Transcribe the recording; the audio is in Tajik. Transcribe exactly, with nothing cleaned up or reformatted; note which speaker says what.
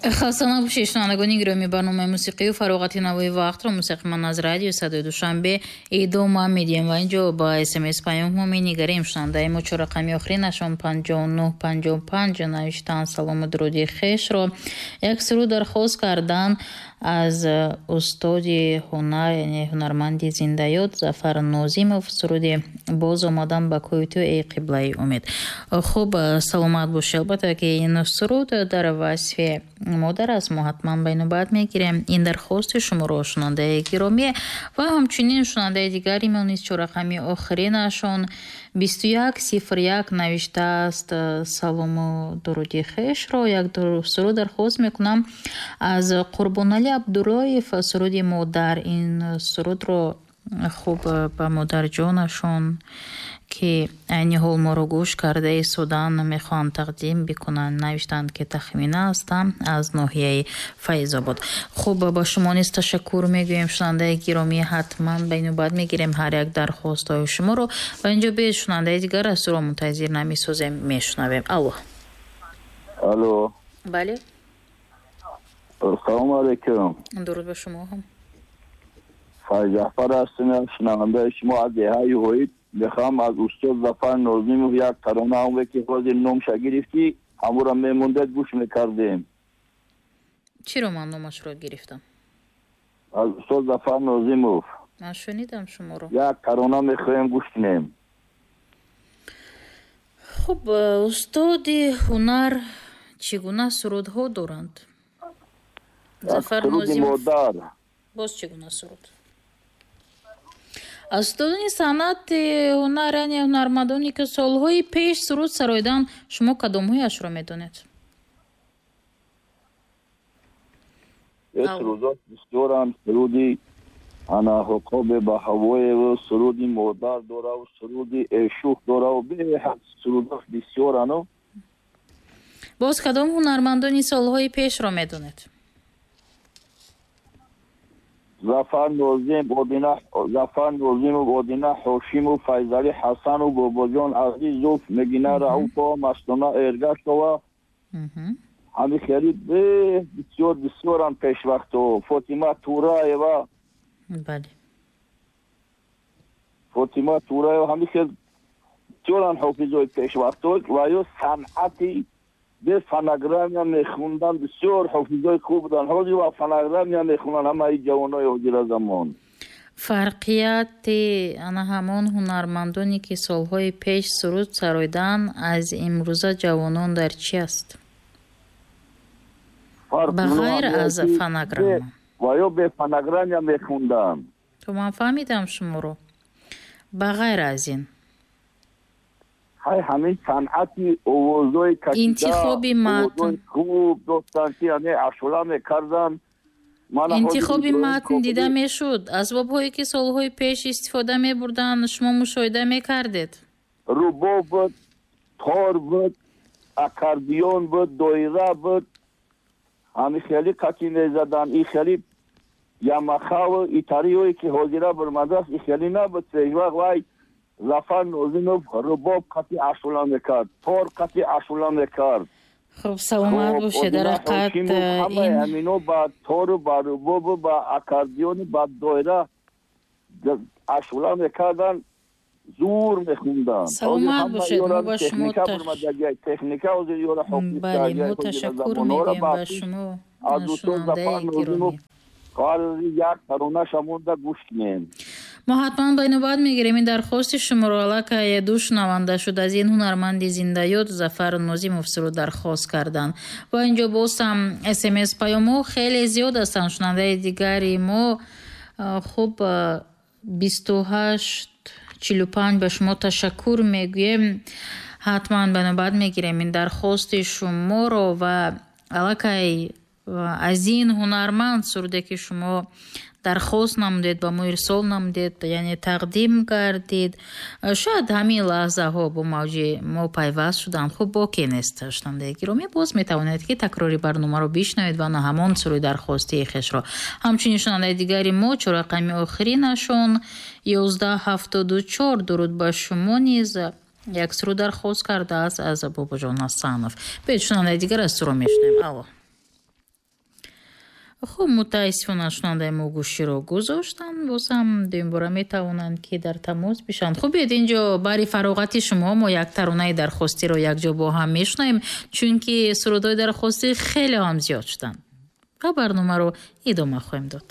Speaker 1: Хаста набошед, шунавандагони гиромӣ, барномаи мусиқию фароғати навои вақтро мустақиман аз радиои Садои Душанбе идома медиҳем ва инҷо ба смс паёмҳо менигарем. Шунавандаи мо чорақами охиринашон панҷоҳу нӯҳ панҷоҳу панҷ навиштанд салому дуруди хешро. Як суруд дархост карданд аз устоди ҳунар, яъне ҳунарманди зиндаёд Зафар Нозимов, суруди «Боз омадам ба кӯи ту, эй қиблаи умед». Хуб, саломат бошед. Албатта ки ин суруд дар васфи модар аст, мо ҳатман ба инобат мегирем ин дархости шуморо, шунавандаи гиромӣ. Ва ҳамчунин шунавандаи дигари мо низ чорақами охиринашон бисту як сифр як навиштааст салому дуруди хешро. Як суруд дархост мекунам аз Қурбоналӣ Абдуллоев, суруди «Модар». Ин сурудро хуб ба модарҷонашон, ки айни ҳол моро гӯш карда истодаанд, мехоҳанд тақдим бикунанд. Навиштанд, ки Тахмина ҳастам аз ноҳияи Файзобод. Хуб, ба шумо низ ташаккур мегӯем, шунавандаи гиромӣ. Ҳатман ба инобат мегирем ҳар як дархостҳои шуморо ва инҷо биёед шунавандаи дигар аз ӯро мунтазир намесозем, мешунавем. Алло.
Speaker 2: Алло.
Speaker 1: Бале.
Speaker 2: Салому алайкум.
Speaker 1: Дуруд ба шумо ҳам.
Speaker 2: Файзафар ҳастам, шунавандаи шумо аз деҳаи Ҳоид. Мехоҳам аз устод Зафар Нозимов як тарона, ҳамое ки ҳозир номша гирифтӣ, ҳамонро мемондед, гӯш мекардем.
Speaker 1: Чиро ман номашро гирифтам?
Speaker 2: Аз устод Зафар Нозимов.
Speaker 1: Ман шунидам шуморо.
Speaker 2: Як тарона мехоҳем гӯш кунем.
Speaker 1: Хуб, устоди ҳунар чӣ гуна сурудҳо доранд? Зафар Нозимов. Боз чӣ гуна суруд? Аз устодони санъати ҳунар, яъне ҳунармандоне ки солҳои пеш суруд сароиданд, шумо кадомҳояшро медонед?
Speaker 2: Сурудот бисёранд. Суруди ана ҳуқобе ба ҳавоеву, суруди модар дораву, суруди эшух дораву, беҳад сурудот бисёрану.
Speaker 1: Боз кадом ҳунармандони солҳои пешро медонед?
Speaker 2: Зафар Нозим, Одина, Зафар Нозимов, Одина Ҳошимов, Файзалӣ Ҳасанов, Бобоҷон Азизов, Мегина Раупова, Мастона Эргашова. Ҳами хеле бисёр бисёранд пешвақтҳо. Фотима Тураева.
Speaker 1: Бале.
Speaker 2: Фотима Тураева, ҳами хел бисёранд ҳофизои пешвақтҳо ва ё санъати бе фонограмма мехондан бисёр ҳофизои хуб буданд. Ҳозир ва фонограмма мехонанд ҳамаи ҷавонои ҳозира замон.
Speaker 1: Фарқияти ана ҳамон ҳунармандоне ки солҳои пеш суруд сароиданд аз имрӯза ҷавонон дар чи аст? Ба ғайр аз фонограмма.
Speaker 2: Ва ё бе фонограмма мехонданд.
Speaker 1: То ман фаҳмидам шуморо. Ба ғайр аз ин.
Speaker 2: Ҳай ҳамин санъати овозҳои кашида,
Speaker 1: интихоби матн
Speaker 2: хуб доштанд, ки яъне ашула мекарданд.
Speaker 1: Интихоби матн дида мешуд. Асбобҳое ки солҳои пеш истифода мебурданд, шумо мушоҳида мекардед?
Speaker 2: Рубоб буд, тор буд, аккордеон буд, доира буд. Ҳамин хеле қатӣ мезаданд. Ин хеле ямахаву итариҳое ки ҳозира бурмадааст, ин хеле набуд. Пешвақт вай Зафар Нозимов рубоб қатӣ ашула мекард, тор қатӣ ашула мекард.
Speaker 1: Хуб, саломат бошед. Дар ҳақиқат
Speaker 2: ин ҳамино ба тору ба рубобу ба аккордеону ба доира ашула мекарданд, зур мехонданд.
Speaker 1: Саломат бошед. Мо ба шумо
Speaker 2: техника ҳозир ёра ҳофиз.
Speaker 1: Бале, мо ташаккур мегӯем ба шумо, шунавандаи гиромӣ.
Speaker 2: Қарзи як таронаша монда гӯш кунем.
Speaker 1: Мо ҳатман ба инобат мегирем ин дархости шуморо. Аллакай ду шунаванда шуд аз ин ҳунарманди зиндаёд Зафар Нозимов суруд дархост карданд. Ва инҷо боз ҳам смс паёмҳо хеле зиёд ҳастанд. Шунавандаи дигари мо хуб бисту ҳашт чилу панҷ ба шумо ташаккур мегӯем. Ҳатман ба навбат мегирем ин дархости шуморо ва аллакай аз ин ҳунарманд суруде ки шумо дархост намудед, ба мо ирсол намудед, яъне тақдим кардед, шояд ҳамин лаҳзаҳо бо мавҷи мо пайваст шуданд. Хуб, боке нест, шунавандаи гиромӣ, боз метавонед ки такрори барномаро бишнавед ва на ҳамон суруди дархостии хешро. Ҳамчунин шунавандаи дигари мо чорақами охиринашон ёздаҳ ҳафтоду чор, дуруд ба шумо низ як суруд дархост кардааст аз Бобоҷон Ҳасанов. Биёед шунавандаи дигар аз суро мешунавем. Алло. Хуб, мутаассифона, шунандаи мо гӯширо гузоштанд. Боз ҳам дуюмбора метавонанд, ки дар тамос бишаванд. Хуб, биёед, инҷо барои фароғати шумо мо як таронаи дархостиро якҷо бо ҳам мешунавем, чунки сурудҳои дархостӣ хеле ҳам зиёд шуданд, ва барномаро идома хоҳем дод.